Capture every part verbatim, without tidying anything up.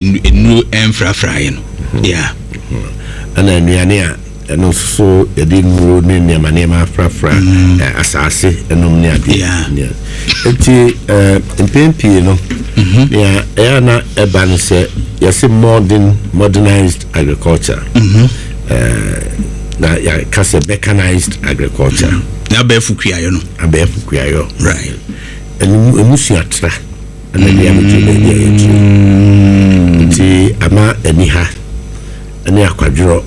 Nnuro ɛmfrafraeɛ no, yeah. Ɛna nnuane a ɛno nso so yɛde nnuro ne nneɛma nneɛma afrafra ɛ, asase ɛnom ne adeɛ. Yeah. Yeah. Nti ɛ, mpɛn pii no, nea ɛyɛ a na ɛba no sɛ yɛsɛ modern modernized agriculture, Ɛɛ, na yɛka sɛ mechanized agriculture. Na abɛɛfo kuayɔ no. Abɛɛfo kuayɔ. Right ɛno emu suatra ɛna de abɛduru baabi a yɛduru, nti ama ani ha ɛne akwadworɔ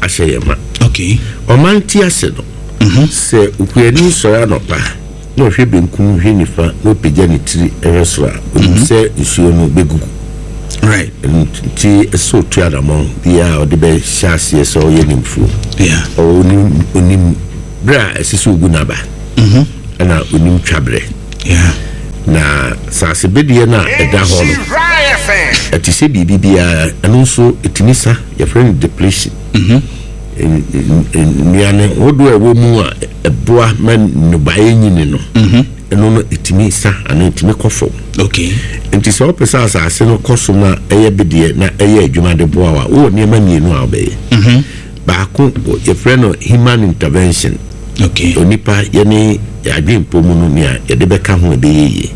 ahyɛ yɛn ma. Okay ɔman ti ase no, sɛ okuani sɔre anɔpa na ɔhwɛ benkum, hwɛ nifa, na ɔpagya ne tiri ɛhwɛ soro a, onim sɛ nsuo no bɛgugu. Right ɛno nti ɛsɛ otu anammɔn biara a ɔde bɛhyɛ aseɛ sɛ ɔyɛ ne mfuo. yeah ɔwɔ onim onim berɛ a ɛsɛ sɛ ogu n'aba, ɛna onim twaberɛ. Yeah na saase bedeɛ no a ɛda hɔ no, ɛte sɛ biribi biara, ɛno nso ɛtumi sa, yɛfrɛ no depletion. N- n- n- nnuane hodoɔ a ɛwɔ mu a ɛboa ma nnɔbaeɛ nyini no, ɛno no ɛtumi sa anaa ɛtumi kɔ fam. Okay nti sɛ wopɛ sɛ asase no kɔ so na ɛyɛ bedeɛ na ɛyɛ adwuma de boa wo a, wowɔ nneɛma mmienu a wobɛyɛ. Baako yɛfrɛ no human intervention. Okay onipa yɛne adwempɔ mu no, nea yɛde bɛka ho a ɛbɛyɛ yie,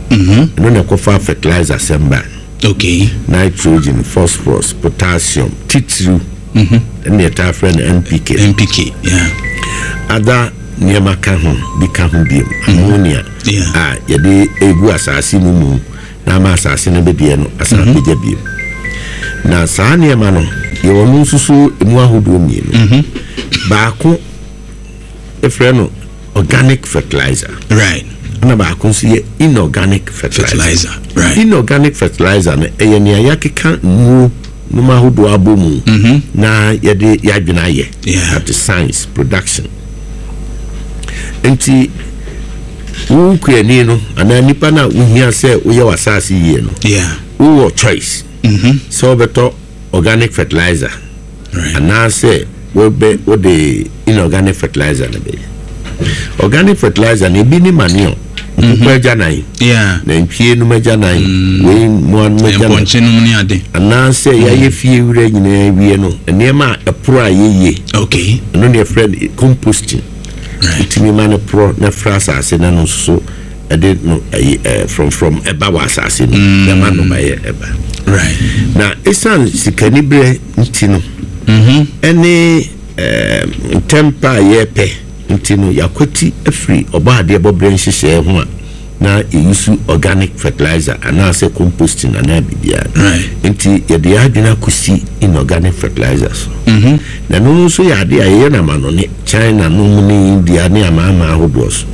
ɛno na ɛkɔfa fertilizer sɛm ba. Okay nitrogen, phosphorus, potassium titiriw, ɛne yɛtaa frɛ no N P K. N P K, yeah. Ada nneɛma ka ho bi ka ho biom, ammonia Yeah. a yɛde egu asase no mu na ama asase no bɛdeɛ no asan apagya biom. Na saa nneɛma no, yɛwɔ no nso so emu ahodoɔ mmienu. Baako yɛfrɛ no organic fertilizer, right ɛna baako nso yɛ inorganic fertilizer. Fertilizer, right. Inorganic fertilizer no ɛyɛ nea yɛakeka nnuro nom ahodoɔ abɔ mu na yɛde yɛadwene ayɛ. Yeah. That is science production. Nti wo kuani no anaa nipa no a wohia sɛ woyɛ w'asase yie no, yeah wowɔ choice sɛ wobɛtɔ organic fertilizer right anaasɛ wobɛ wode inorganic fertilizer no bɛyɛ. Organic fertilizer no, ebi ne manure, nkokɔ agyanan, yeah nantwie nom agyanan, wei mmoa nom agyanan, mpɔnkye nom ne ade. Anaasɛ yɛayɛ fie wura nyinaa wie no, nneɛma a ɛporo a yɛyie, okay ɛno ne yɛfrɛ no composting. Right wotumi ma no porɔ na fra asase na no nso so ɛde no ɛyi ɛɛ frɔmfrɔm ɛba wɔ asase no na ɛma nnɔbaeɛ ɛba. Right na ɛsiane sikaniberɛ nti no, ɛne ɛɛ ntɛmpa a yɛrepɛ nti no, yɛakwati afiri ɔbɔ adeɛ bɔberɛ nhyehyɛeɛ ho a na yɛyi organic fertilizer anaasɛ composting anaa biribiara. Right. Nti yɛde yɛn adwene akɔsi inorganic fertilizer so, na ɛno nso yɛ adeɛ a yɛyɛ no amanɔne, China nom ne India ne amaama ahodoɔ so.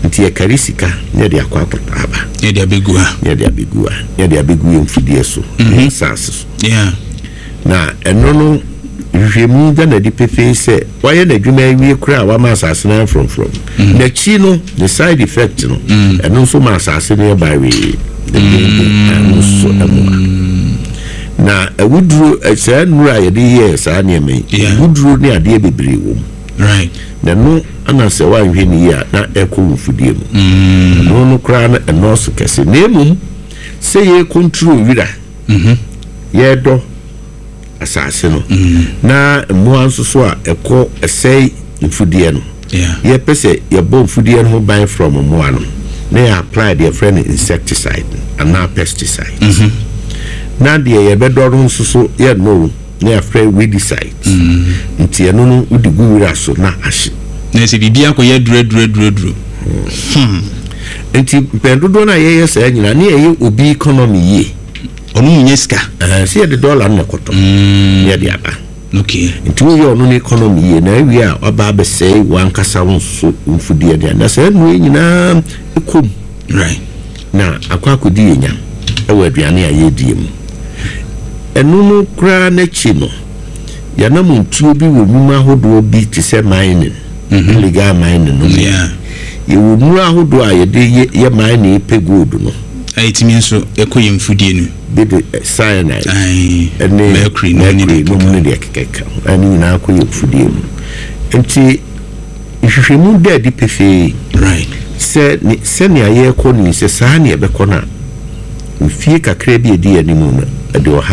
Nti yɛkari sika na yɛde akɔ akɔtɔ aba. Yɛde abɛgu ha. Na yɛde abɛgu ha, na yɛde abɛgu yɛn mfidie so ne yɛn asase so. Yeah na ɛno no, nhwehwɛmu da n'adi pefee sɛ wayɛ n'adwuma awie koraa a wama asase no ayɛ frɔmfrɔm n'akyi no, ne side effect no, ɛno nso ma asase no yɛ bawee dendenden. Ɛno nso ɛmoa na awuduro ɛ, saa nnuro a yɛde yɛɛ saa nneɛma yi, Yeah. awuduro ne adeɛ bebree wɔ mu. Right na ɛno ana sɛ woanhwɛ ne yie a, na ɛkɔ wo mfudie mu. Ɛno no koraa no ɛnɔɔso kɛse, na mmom sɛ yɛ control wira, yɛdɔ asase no, na mmoa nso so a ɛkɔ ɛsɛe mfudeɛ no, yeah yɛpɛ sɛ yɛbɔ mfudeɛ no ho ban from mmoa no, na yɛ apply deɛ yɛfrɛ no insecticide anaa pesticide, na deɛ yɛbɛdɔ no nso so yɛnnɔ o, na yɛafrɛ weedicide. Nti ɛno no wode gu wira so na ahye. Na sɛ biribi akɔyɛ duraduraduraduro. Nti mpɛn dodoɔ no a yɛyɛ saa nyinaa ne yɛyɛ obi economy yie. Ɔno mu nyɛ sika. Ɛɛ, sɛ yɛde dɔla no na ɛkɔtɔ na yɛde aba. Okay nti woyɛ ɔno no economy yie na awie a, waba abɛsɛe wankasa wo nso mfudeɛ deɛ, na saa nnuro yi nyinaa ɛkɔm right na akɔ akɔdi yɛ nya ɛwɔ aduane a yɛredie mu. Ɛno no koraa n'akyi no, yɛnam ntuo bi wɔ nnwuma ahodoɔ bi te sɛ mining, illegal mining no mu. Yeah yɛwɔ nnuro ahodoɔ a yɛde yɛ yɛ mining pɛ gold no. A ɛtumi nso ɛkɔ yɛ mfudie no. Bi de eh, cyanide Aye. ɛne mercury no ne mercury deɛ nom keka ne deɛ kekeka ho, ɛne nyinaa kɔ yɛ mfudie mu. Nti nhwehwɛmu da adi pefee right sɛ ne sɛnea yɛrekɔ no yi, sɛ saa ne yɛbɛkɔ no a, mfie kakra bi a ɛdi anim no, Ɛde ɔha.